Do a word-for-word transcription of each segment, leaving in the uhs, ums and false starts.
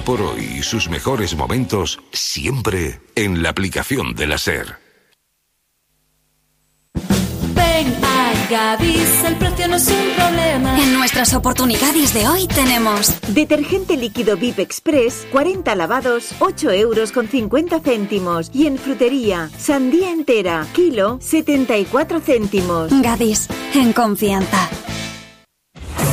por hoy y sus mejores momentos siempre en la aplicación de la SER. Ven a Gadis, el precio no es un problema. En nuestras oportunidades de hoy tenemos detergente líquido V I P Express, cuarenta lavados, ocho euros con cincuenta céntimos. Y en frutería, sandía entera, kilo, setenta y cuatro céntimos. Gadis, en confianza.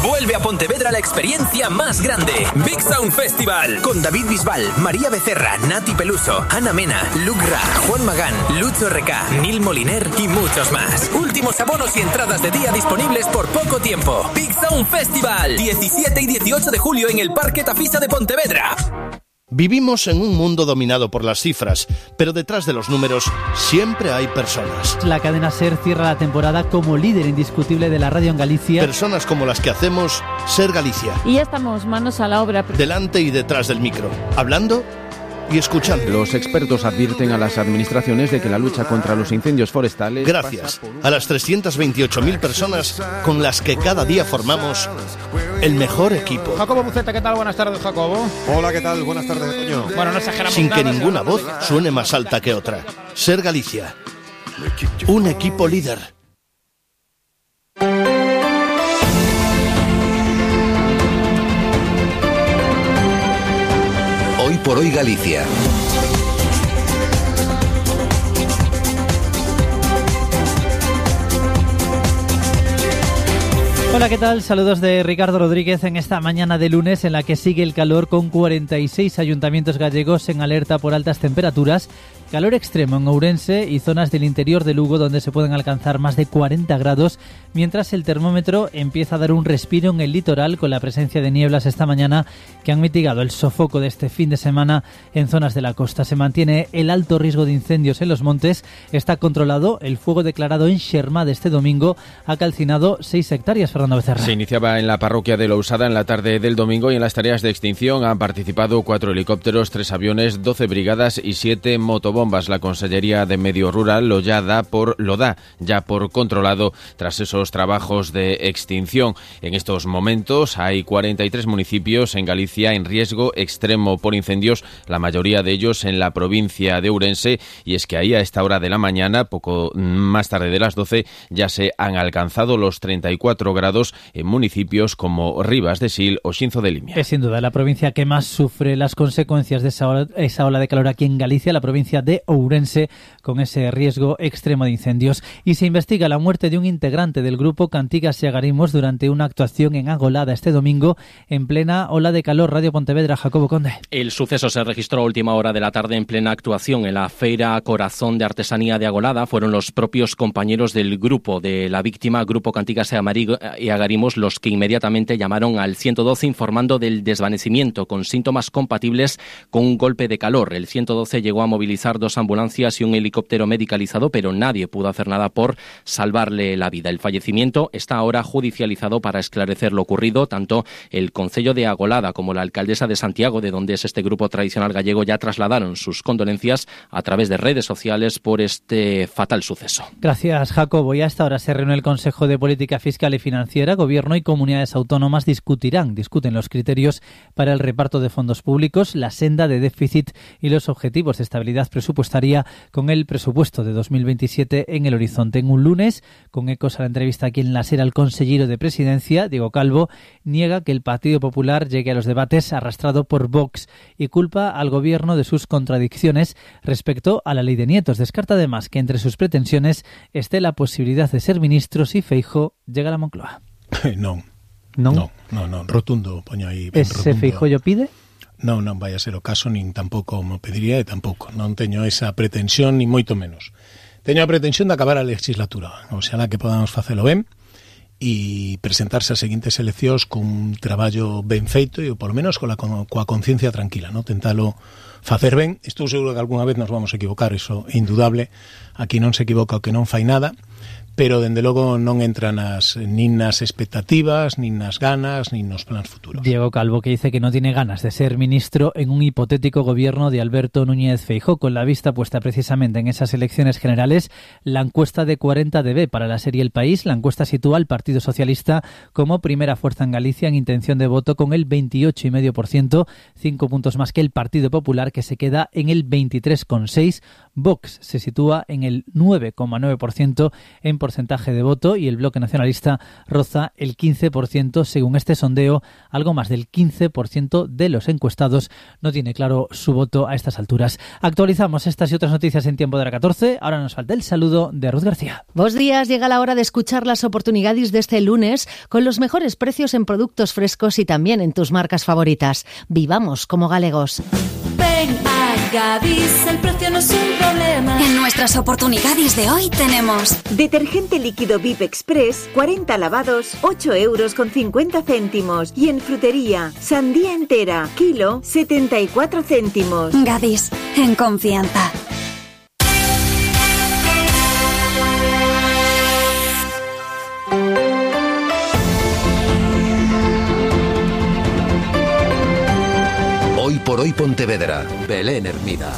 Vuelve a Pontevedra la experiencia más grande, Big Sound Festival, con David Bisbal, María Becerra, Nati Peluso, Ana Mena, Luc Ra, Juan Magán, Lucho R K, Nil Moliner y muchos más. Últimos abonos y entradas de día disponibles por poco tiempo. Big Sound Festival, diecisiete y dieciocho de julio en el Parque Tafisa de Pontevedra. Vivimos en un mundo dominado por las cifras, pero detrás de los números siempre hay personas. La cadena SER cierra la temporada como líder indiscutible de la radio en Galicia. Personas como las que hacemos SER Galicia. Y ya estamos manos a la obra. Delante y detrás del micro, hablando y escuchando. Los expertos advierten a las administraciones de que la lucha contra los incendios forestales... Gracias a las trescientas veintiocho mil personas con las que cada día formamos el mejor equipo. Jacobo Buceta, ¿qué tal? Buenas tardes, Jacobo. Hola, ¿qué tal? Buenas tardes, Toño. Bueno, no exageramos Sin nada, que ninguna voz suene más alta que otra. SER Galicia. Un equipo líder. Hoy por hoy Galicia. Hola, ¿qué tal? Saludos de Ricardo Rodríguez en esta mañana de lunes en la que sigue el calor con cuarenta y seis ayuntamientos gallegos en alerta por altas temperaturas. Calor extremo en Ourense y zonas del interior de Lugo donde se pueden alcanzar más de cuarenta grados, mientras el termómetro empieza a dar un respiro en el litoral con la presencia de nieblas esta mañana que han mitigado el sofoco de este fin de semana en zonas de la costa. Se mantiene el alto riesgo de incendios en los montes, está controlado. El fuego declarado en Xermá de este domingo ha calcinado seis hectáreas. Fernando Becerra. Se iniciaba en la parroquia de Lousada en la tarde del domingo y en las tareas de extinción han participado cuatro helicópteros, tres aviones, doce brigadas y siete motobombas. La Consellería de Medio Rural lo ya da por lo da ya por controlado tras esos trabajos de extinción. En estos momentos hay cuarenta y tres municipios en Galicia en riesgo extremo por incendios, la mayoría de ellos en la provincia de Ourense, y es que ahí a esta hora de la mañana, poco más tarde de las doce, ya se han alcanzado los treinta y cuatro grados en municipios como Rivas de Sil o Xinzo de Limia. Es sin duda la provincia que más sufre las consecuencias de esa ola, esa ola de calor aquí en Galicia, la provincia de de Ourense, con ese riesgo extremo de incendios. Y se investiga la muerte de un integrante del grupo Cantigas y Agarimos durante una actuación en Agolada este domingo en plena ola de calor. Radio Pontevedra, Jacobo Conde. El suceso se registró a última hora de la tarde en plena actuación en la Feira Corazón de Artesanía de Agolada. Fueron los propios compañeros del grupo de la víctima, Grupo Cantigas y Agarimos, los que inmediatamente llamaron al ciento doce informando del desvanecimiento con síntomas compatibles con un golpe de calor. El ciento doce llegó a movilizar dos ambulancias y un helicóptero medicalizado, pero nadie pudo hacer nada por salvarle la vida. El fallecimiento está ahora judicializado. Para esclarecer lo ocurrido, tanto el Concello de Agolada como la alcaldesa de Santiago, de donde es este grupo tradicional gallego, ya trasladaron sus condolencias a través de redes sociales por este fatal suceso. Gracias, Jacobo. Y a esta hora se reúne el Consejo de Política Fiscal y Financiera. Gobierno y comunidades autónomas discutirán, discuten los criterios para el reparto de fondos públicos, la senda de déficit y los objetivos de estabilidad presupuestaria con el presupuesto de dos mil veintisiete en el horizonte. En un lunes, con ecos a la entrevista aquí en la SER al consejero de Presidencia, Diego Calvo, niega que el Partido Popular llegue a los debates arrastrado por Vox y culpa al Gobierno de sus contradicciones respecto a la ley de nietos. Descarta además que entre sus pretensiones esté la posibilidad de ser ministro si Feijóo llega a la Moncloa. Non. Non? No, no, no, rotundo, poño aí. Ese Feijóo pide? Non, non vai a ser o caso, nin tampouco me pediría e tampouco. Non teño esa pretensión, ni moito menos. Teño a pretensión de acabar a legislatura. O sea, que podamos facelo ben e presentarse as seguintes eleccións con un traballo ben feito e, polo menos, coa, coa conciencia tranquila, ¿no? Tentalo facer ben. Estou seguro que algunha vez nos vamos a equivocar, iso é indudable. Aquí non se equivoca o que non fai nada, pero dende logo non entran nas, nin nas expectativas, nin nas ganas, nin nos plans futuros. Diego Calvo, que dice que no tiene ganas de ser ministro en un hipotético gobierno de Alberto Núñez Feijóo, con la vista puesta precisamente en esas elecciones generales. La encuesta de cuarenta D B para la serie El País, la encuesta sitúa al Partido Socialista como primera fuerza en Galicia en intención de voto con el veintiocho coma cinco por ciento, cinco puntos más que el Partido Popular, que se queda en el veintitrés coma seis por ciento. Vox se sitúa en el nueve coma nueve por ciento en porcentaje de voto y el Bloque Nacionalista roza el quince por ciento. Según este sondeo, algo más del quince por ciento de los encuestados no tiene claro su voto a estas alturas. Actualizamos estas y otras noticias en Tiempo de la catorce. Ahora nos falta el saludo de Ruth García. Bos días, llega la hora de escuchar las oportunidades de este lunes con los mejores precios en productos frescos y también en tus marcas favoritas. Vivamos como galegos. Ven a Gadis, el precio no es un problema. En nuestras oportunidades de hoy tenemos detergente líquido V I P Express, cuarenta lavados, ocho euros con cincuenta céntimos. Y en frutería, sandía entera, kilo, setenta y cuatro céntimos. Gadis, en confianza. Hoy por hoy Pontevedra, Belén Hermida.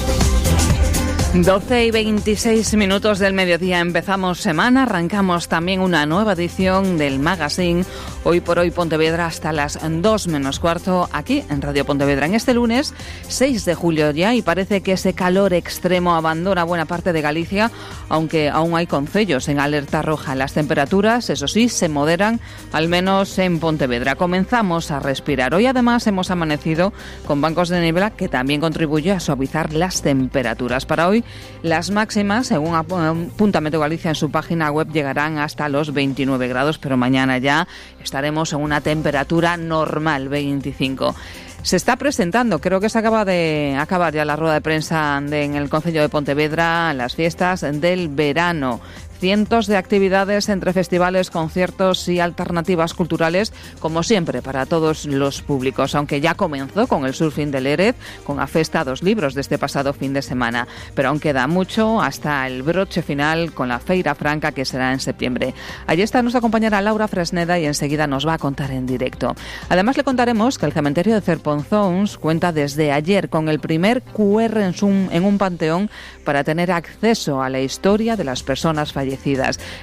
doce y veintiséis minutos del mediodía, empezamos semana, arrancamos también una nueva edición del magazine Hoy por Hoy Pontevedra hasta las dos menos cuarto aquí en Radio Pontevedra. En este lunes seis de julio ya, y parece que ese calor extremo abandona buena parte de Galicia, aunque aún hay concellos en alerta roja. Las temperaturas, eso sí, se moderan, al menos en Pontevedra. Comenzamos a respirar. Hoy además hemos amanecido con bancos de niebla que también contribuye a suavizar las temperaturas. Para hoy las máximas, según apunta Meteo Galicia en su página web, llegarán hasta los veintinueve grados, pero mañana ya estaremos en una temperatura normal, veinticinco. Se está presentando, creo que se acaba de acabar ya la rueda de prensa de, en el Concello de Pontevedra, las fiestas del verano. Cientos de actividades entre festivales, conciertos y alternativas culturales, como siempre, para todos los públicos, aunque ya comenzó con el Surfing de Lérez, con a Festa dos Libros de este pasado fin de semana. Pero aún queda mucho hasta el broche final con la Feira Franca, que será en septiembre. Allí está nuestra compañera Laura Fresneda y enseguida nos va a contar en directo. Además le contaremos que el cementerio de Cerponzóns cuenta desde ayer con el primer cu erre en un, en un panteón para tener acceso a la historia de las personas fallecidas.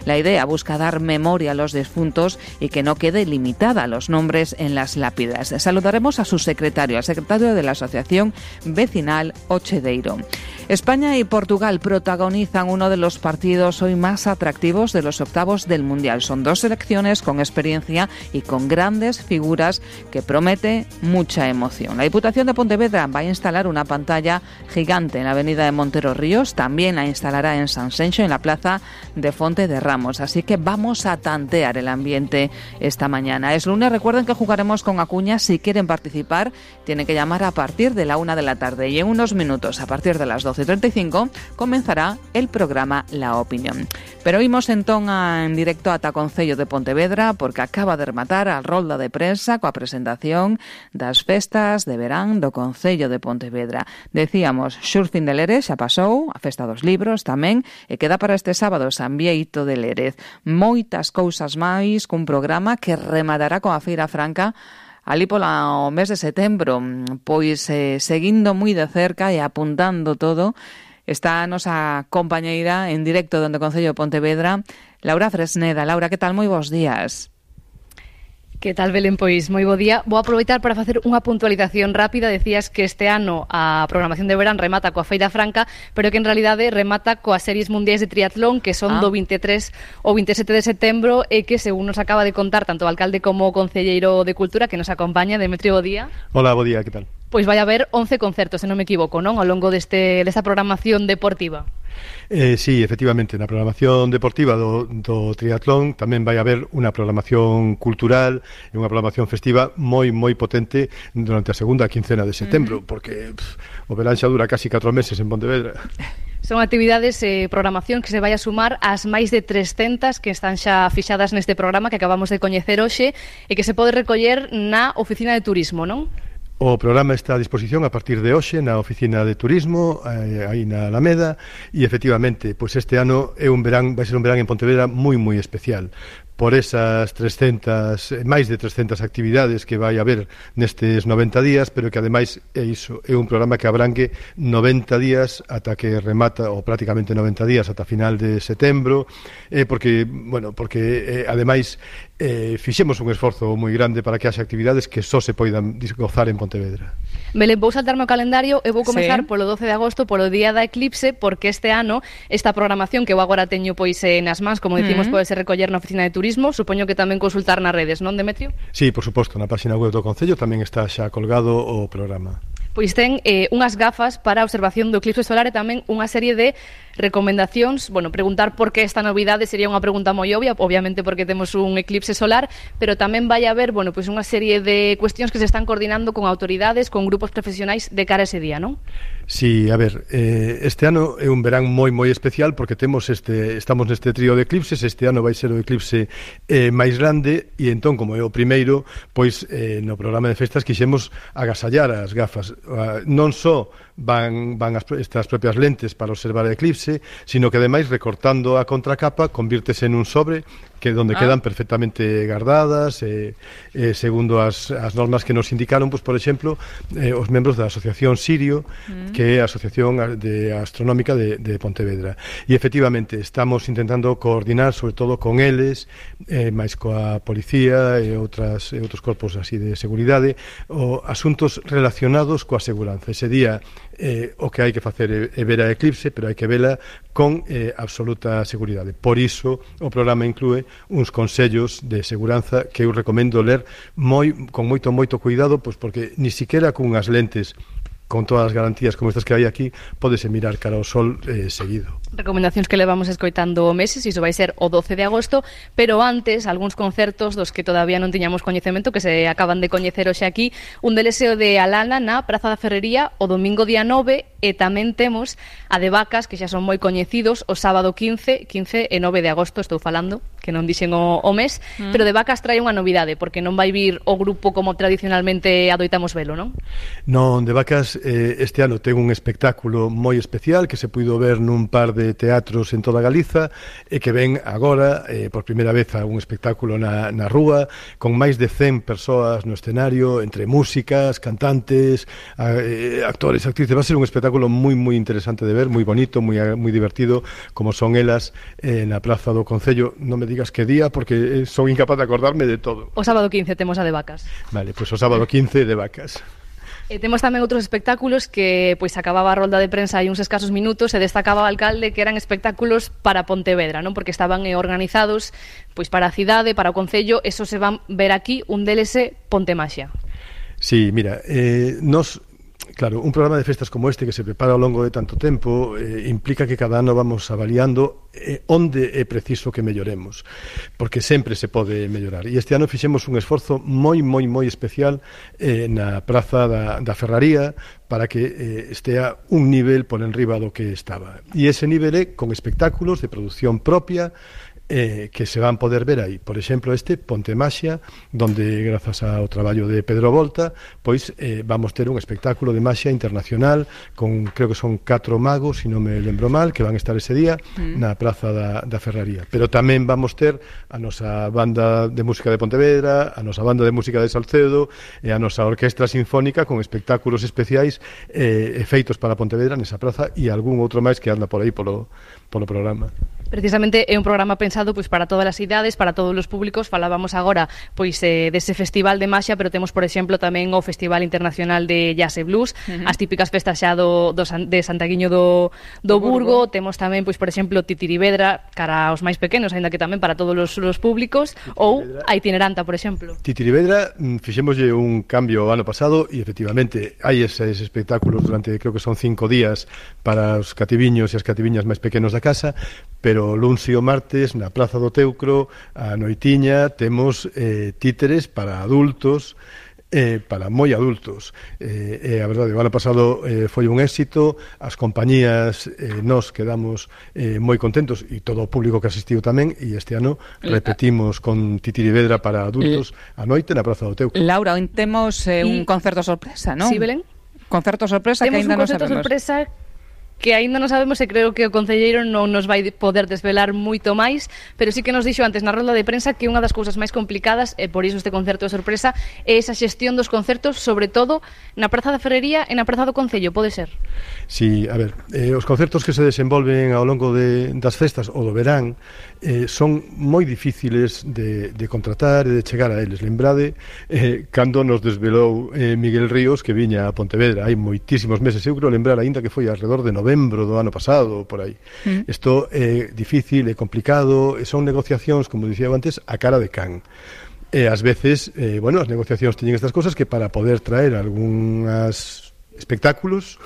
La idea busca dar memoria a los difuntos y que no quede limitada a los nombres en las lápidas. Saludaremos a su secretario, al secretario de la Asociación Vecinal Ochedeiro. España y Portugal protagonizan uno de los partidos hoy más atractivos de los octavos del Mundial. Son dos selecciones con experiencia y con grandes figuras que promete mucha emoción. La Diputación de Pontevedra va a instalar una pantalla gigante en la avenida de Montero Ríos, también la instalará en San Senxo, en la plaza de Fonte de Ramos. Así que vamos a tantear el ambiente esta mañana. Es lunes, recuerden que jugaremos con Acuña. Si quieren participar, tienen que llamar a partir de la una de la tarde y en unos minutos, a partir de las doce y treinta y cinco, comenzará el programa La Opinión. Pero oímos entón a, en directo ata Concello de Pontevedra, porque acaba de rematar a rolda de prensa coa presentación das festas de verán do Concello de Pontevedra. Decíamos, Surfing de Lérez xa pasou, a Festa dos Libros tamén, e queda para este sábado San Bieito de Lérez. Moitas cousas máis cun programa que rematará coa Feira Franca ali pola o mes de setembro. Pois eh, seguindo moi de cerca e apuntando todo, está a nosa compañeira en directo dende o Concello de Pontevedra, Laura Fresneda. Laura, que tal? Moi bons días. Que tal, Belén? Pois moi bo día. Vou aproveitar para facer unha puntualización rápida. Decías que este ano a programación de verán remata coa Feira Franca, pero que en realidade remata coas series mundiais de triatlón, que son ah. do veintitrés ao veintisiete de setembro, e que, según nos acaba de contar tanto o alcalde como o concelleiro de Cultura que nos acompaña, Demetrio, bo día. Hola, bo día, que tal? Pois vai haber once concertos, se non me equivoco, non? Ao longo deste, desta programación deportiva. Eh, sí, efectivamente, na programación deportiva do, do triatlón tamén vai haber unha programación cultural e unha programación festiva moi, moi potente durante a segunda quincena de setembro, uh-huh. porque pff, o verán xa dura casi catro meses en Pontevedra. Son actividades e eh, programación que se vai a sumar ás máis de trescentas que están xa fixadas neste programa que acabamos de coñecer hoxe e que se pode recoller na Oficina de Turismo, non? O programa está a disposición a partir de hoxe na oficina de turismo, eh, aí na Alameda, e efectivamente, pois este ano é un verán, vai ser un verán en Pontevedra moi moi especial, por esas trescentas, máis de trescentas actividades que vai haber nestes noventa días, pero que ademais é iso, é un programa que abrangue noventa días ata que remata, ou prácticamente noventa días ata final de setembro, eh, porque, bueno, porque eh, ademais eh, fixemos un esforzo moi grande para que haxa actividades que só se poidan gozar en Pontevedra. Belén, vou saltarme o calendario e vou comezar Sí. polo doce de agosto, polo día da eclipse, porque este ano esta programación que eu agora teño pois eh, nas mans, como dicimos, Mm. pode ser recoller na oficina de turismo, supoño que tamén consultar nas redes, non, Demetrio? Sí, por suposto, na página web do Concello tamén está xa colgado o programa. Pois ten eh, unhas gafas para a observación do eclipse solar e tamén unha serie de recomendacións. Bueno, preguntar por que esta novidade sería unha pregunta moi obvia, obviamente porque temos un eclipse solar, pero tamén vai haber, bueno, pois unha serie de cuestións que se están coordinando con autoridades, con grupos profesionais de cara a ese día, non? Sí, a ver, eh, este ano é un verán moi moi especial porque temos este, estamos neste trío de eclipses. Este ano vai ser o eclipse eh, máis grande e entón, como é o primeiro, pois eh, no programa de festas quixemos agasallar as gafas. Uh, non só van, van as, estas propias lentes para observar o eclipse, sino que ademais recortando a contracapa convírtese en un sobre que donde Ah. quedan perfectamente guardadas eh, eh, segundo as, as normas que nos indicaron, pois, por exemplo, eh, os membros da Asociación Sirio, Mm. que é a Asociación de Astronómica de, de Pontevedra. E efectivamente estamos intentando coordinar sobre todo con eles, eh, máis coa policía e outras, e outros corpos así de seguridade, o asuntos relacionados coa seguranza. Ese día eh, o que hai que facer é, é ver a eclipse, pero hai que vela con eh, absoluta seguridade. Por iso o programa inclúe uns consellos de seguranza que eu recomendo ler moi, con moito, moito cuidado, pois porque ni siquiera con unhas lentes con todas as garantías como estas que hai aquí, pódese mirar cara ao sol eh, seguido. Recomendacións que levamos escoitando meses, iso vai ser o doce de agosto, pero antes, algúns concertos dos que todavía non tiñamos coñecemento, que se acaban de coñecer hoxe aquí, un deles é o de Alana na Praza da Ferrería o domingo día nove, e tamén temos a de Vacas, que xa son moi coñecidos, o sábado quince, quince e nove de agosto, estou falando, que non dixen o, o mes, Mm. pero de Vacas trae unha novidade, porque non vai vir o grupo como tradicionalmente adoitamos velo, non? Non, de Vacas eh, este ano ten un espectáculo moi especial que se puido ver nun par de teatros en toda Galiza e que ven agora eh, por primeira vez a un espectáculo na, na rúa con máis de cen persoas no escenario, entre músicas, cantantes, a, eh, actores, actrices. Va a ser un espectáculo moi moi interesante de ver, moi bonito, moi moi divertido, como son elas eh, na Praza do Concello. Non me digas que día porque eh, son incapaz de acordarme de todo. O sábado quince temos a de Vacas. Vale, pois pues o sábado quince de Vacas. E temos tamén outros espectáculos que pois acababa a rolda de prensa hai uns escasos minutos e destacaba o alcalde que eran espectáculos para Pontevedra, non? Porque estaban eh, organizados pois para a cidade, para o concello, eso se van ver aquí, un deles é Pontemaxia. Sí, mira, eh, nos claro, un programa de festas como este que se prepara ao longo de tanto tempo eh, implica que cada ano vamos avaliando eh, onde é preciso que melloremos, porque sempre se pode mellorar. E este ano fixemos un esforzo moi, moi, moi especial eh, na Praza da, da Ferraría para que eh, estea un nivel por enriba do que estaba. E ese nivel é con espectáculos de produción propia Eh, que se van poder ver aí. Por exemplo, este Pontemaxia, donde grazas ao traballo de Pedro Volta, pois eh, vamos ter un espectáculo de maxia internacional con, creo que son catro magos, se non me lembro mal, que van estar ese día Mm. na Praza da, da Ferraría. Pero tamén vamos ter a nosa banda de música de Pontevedra, a nosa banda de música de Salcedo e a nosa orquestra sinfónica con espectáculos especiais eh, feitos para Pontevedra nesa praza e algún outro máis que anda por aí polo, polo programa. Precisamente é un programa pensado pois para todas as idades, para todos os públicos. Falábamos agora pois eh, dese festival de maxia, pero temos, por exemplo, tamén o Festival Internacional de Jazz e Blues, Ujú. as típicas festas xa do, do San, de Santaguiño do, do Do Burgo. Burgo. Temos tamén, pois por exemplo, Titirivedra cara aos máis pequenos, aínda que tamén para todos os, os públicos, ou a Itineranta, por exemplo. Titirivedra, mm, fixémoslle un cambio o ano pasado e efectivamente hai eses espectáculos durante, creo que son cinco días para os cativiños e as cativiñas máis pequenos da casa, pero luns e o martes na Praza do Teucro, a noitiña, temos eh, títeres para adultos eh, para moi adultos. Eh, eh, a verdade, o ano pasado eh, foi un éxito, as compañías, eh, nós quedamos eh, moi contentos e todo o público que asistiu tamén, e este ano repetimos con Titirivedra para adultos a noite na Praza do Teuco. Laura, hoy temos eh, un concerto sorpresa, non? Sí, Belén. Concerto sorpresa Temos que ainda un non concerto sabemos. sorpresa que aínda non sabemos e creo que o concelleiro non nos vai poder desvelar moito máis, pero sí que nos dixo antes na rolda de prensa que unha das cousas máis complicadas, e por iso este concerto de sorpresa, é esa xestión dos concertos, sobre todo na Praza da Ferrería e na Praza do Concello, pode ser? Sí, a ver, eh, os concertos que se desenvolven ao longo de, das festas ou do verán eh, son moi difíciles de, de contratar e de chegar a eles. Lembrade, eh, cando nos desvelou eh, Miguel Ríos que viña a Pontevedra hai moitísimos meses, eu creo lembrar aínda que foi alrededor de novembro do ano pasado, por aí. Mm. Isto é difícil, é complicado, e son negociacións, como dicía antes, a cara de can. E ás veces, eh, bueno, as negociacións teñen estas cosas que para poder traer algunhas espectáculos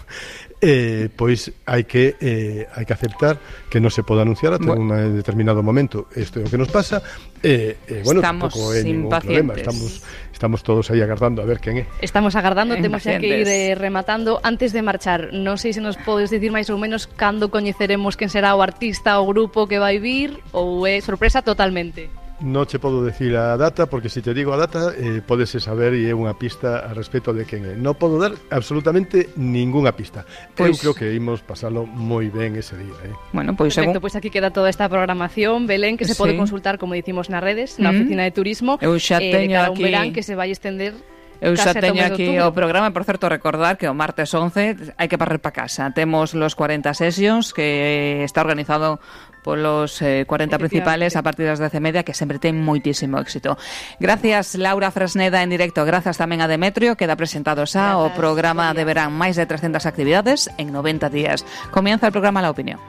eh, pois hai que eh, hai que aceptar que non se pode anunciar ata bueno. un determinado momento. Isto é o que nos pasa e eh, eh, bueno, tampouco é ningún problema. Estamos estamos todos aí agardando a ver quen é. Estamos agardando, temos xa que ir eh, rematando. Antes de marchar, non sei se nos podes dicir máis ou menos cando coñeceremos quen será o artista ou grupo que vai vir, ou é sorpresa totalmente? Non che podo decir a data, porque se te digo a data eh, podese saber e é unha pista a respecto de quen é. Non podo dar absolutamente ningunha pista. Pois... Eu creo que imos pasalo moi ben ese día. Eh? Bueno, pois perfecto, según... pois aquí queda toda esta programación, Belén, que se sí. pode consultar, como dicimos, nas redes, na mm. oficina de turismo. Eu xa teño eh, de cada aquí... un verán que se vai estender. Eu xa teño aquí o programa, por certo, recordar que o martes once hai que parrer para casa. Temos los cuarenta sessions que está organizado polos eh, cuarenta principales a partir das dez e media, que sempre ten moitísimo éxito. Gracias, Laura Fresneda, en directo. Gracias tamén a Demetrio, queda presentado xa o programa de verán, máis de trescentas actividades en noventa días. Comienza el programa La Opinión.